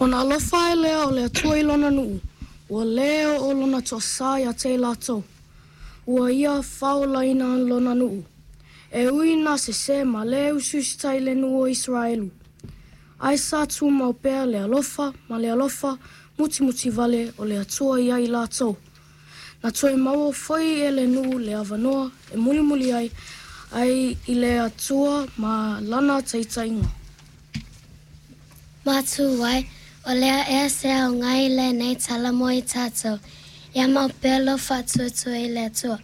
Ona alofa ae lea o le Atua i lona nuu, ua lē oo lona toasā iā te i latou. Ua ia faaolaina lona nuu. E ui ina sesē ma lē usiusitai le nuu o Isaraelu, ae sa tumau pea le alofa ma le alofa mutimuti vale o le Atua iā i latou. Na toe maua foi e le nuu le avanoa e mulimuli ai i le Atua ma lana taitaiga. Matuai, o le a ea se aoga i lenei tala mo i tatou? Ia mau pea lou faatuatua i le Atua,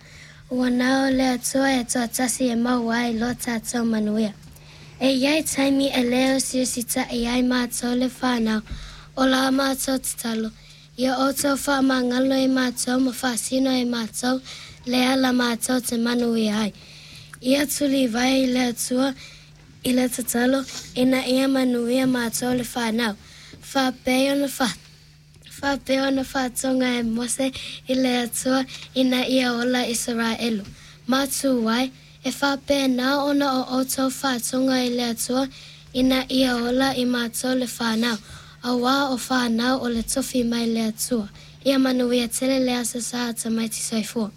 ua na o le Atua e toatasi e maua ai lo tatou manuia. E i ai taimi e lē usiusitaʻi ai matou le fanau, o la matou tatalo, ia outou faamagalo i matou ma faasino i matou le ala matou te manuia ai. Ia tulivae i le Atua i le tatalo ina ia manuia matou le fanau. Faapei ona fa faapea ona faatoga e Mose i le Atua ina ia ola Isaraelu. Matuai, e faapena ona o outou faatoga i le Atua ina ia ola i matou le fanau, auā o fanau o le tofi mai le Atua. Ia manuia tele le Aso Sa a tamaiti soifua.